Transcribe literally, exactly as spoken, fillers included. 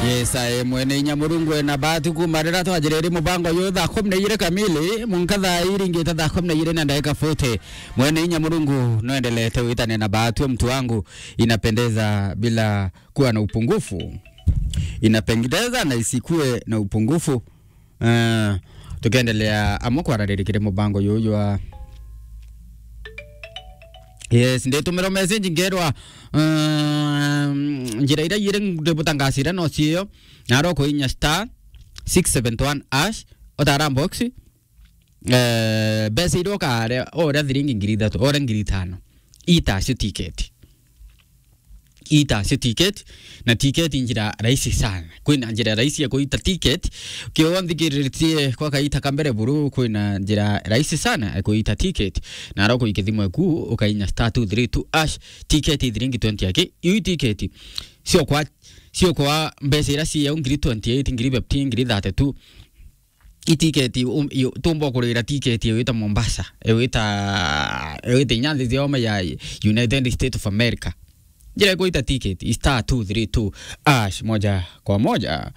Yes, aye, mwene inya Murungu ena bahati kuma riria twajiriri mubango uyu thaa kumi na igiri kamili, munka thaa iringite thaa kumi na igiri na ndagika forty. Mwene inya Murungu noendelete witane na bahati, mtu wangu, inapendeza bila kuwa na upungufu. Inapendeza na isikue na upungufu. Eh, tukendelea amwe kwarariria kiri mubango uyu jwa. Yes, nditumirwa message ngerwa, um, njira iria iri ndibutangasire no cio, naro kuinya star six seven one hash, utara box, eh, mbeca iria ukare, uria thiringi ngiri ithatu, uria ngiri itano. Ita cio ticket. Ita cio ticket, na ticket njira rahisi sana. Kwina njira rahisi ya kuita ticket. Kiwa nthikiritie kwa kaita ka mbere buru, kwina njira rahisi sana ya kuita ticket. Na aroko ikithimwe ku, ukainya star two three two hash, ticket ithiringi twenty aki. Iu ticket, sio kwa, sio kwa mbeca iria cia ngiri twenty-eight, ngiri fifteen, ngiri thirty-two. Itiketi, um, yo, tumba kurira tiketi ewita Mombasa, ewita, ewita inya nthi cioma ya United States of America. Njira ikuita tiketi, star two three two hash, moja kwa moja.